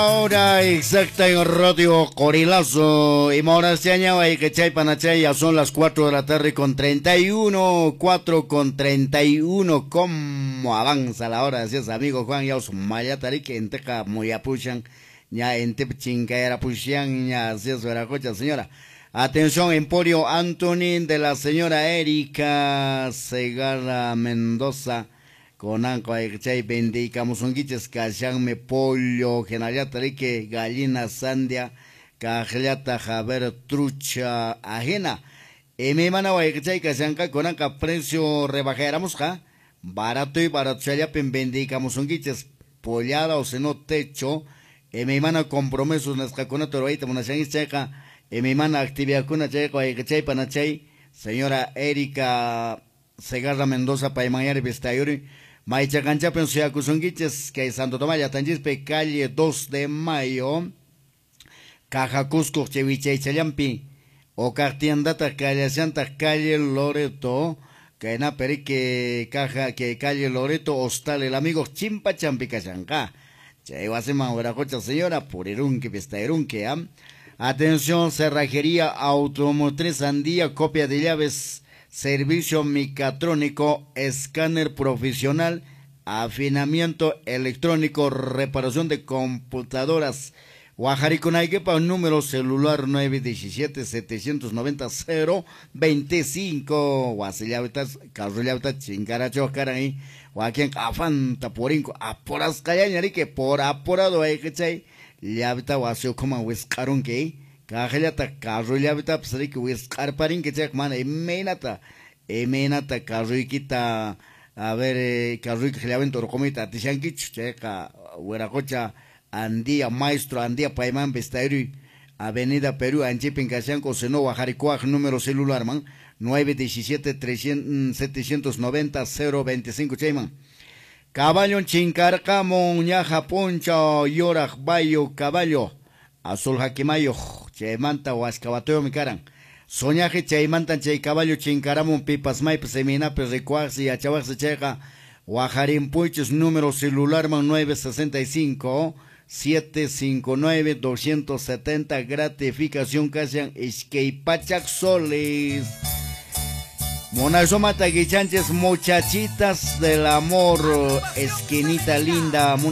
Hora exacta en Radio Corilazo. Y que panachay, ya son las 4 de la tarde con 31, 4 con 31. ¿Cómo avanza la hora? Así es, amigo Juan, ya os mayatarique, en teja muyapushan, ya en tepchincayarapushan, ya así es, veracocha, señora. Atención, Emporio Anthony de la señora Erika Segarra Mendoza. Konanqa chay vendiykamusunkichis kashanmi pollo hinallataq riki gallina sandia kaqllataq a ver trucha ajena. Imaymana wayqichay kashanqa kunanqa precio rebajayaramusqa barato y baratochallapin vendiykamusunkichis pollada o sino techo imaymana compromisos nisqakunata ruwayta munashankichis chayqa imaymana actividadkuna chayqa wayqichay panachay señora Erika Segarra Mendoza paymanñari vistayuri Maychakanchapin suyakusunkichis kay Santo Tomás llaqtanchispi calle 2 de Mayo Caja Cusco wichaychallampi okaq tiendata kallashantaq calle Loreto kaynapi riki caja que calle Loreto Hostal el amigo Chimpachampi kashanqa chay wasiman wiraqucha señora purirunki pistayrunki. Atención, cerrajería automotriz Andía, copia de llaves, servicio mecatrónico, escáner profesional, afinamiento electrónico, reparación de computadoras. Guajaricunayquepa, número celular 917-790-025. Guasillavitas, carrullavitas, chincaracho, caray. Guaquien, afanta, porinco, aporascayañarique, por apurado, chay. Llavita, guasiocoma, huescarunque. Kaqllata carrullavitapas riki wisq'arparinki chayqa mana imaynata imaynata carruykita a ver carruykiq llavinta urqumuyta atishankichu chayqa wiraqocha Andía maestro Andía payman vistayruy Avenida Perú anchipin kashanku sino wajarikuaq número celular man 917 790 025 chayman. Caballo chinkarqamun ñaja puncha yoraq bayo caballo azul hakimayo chaymanta waskawatuyumi karan soñaje chaymanta chay caballo chinkaramun pipas maypas imaynapi rikuwaqsi yachawaqsi chayqa wajarinpuychis número celular man 965 759 270 gratificación kashan iskay pachak soles. Monasomata guichanches muchachitas del amor, esquinita linda.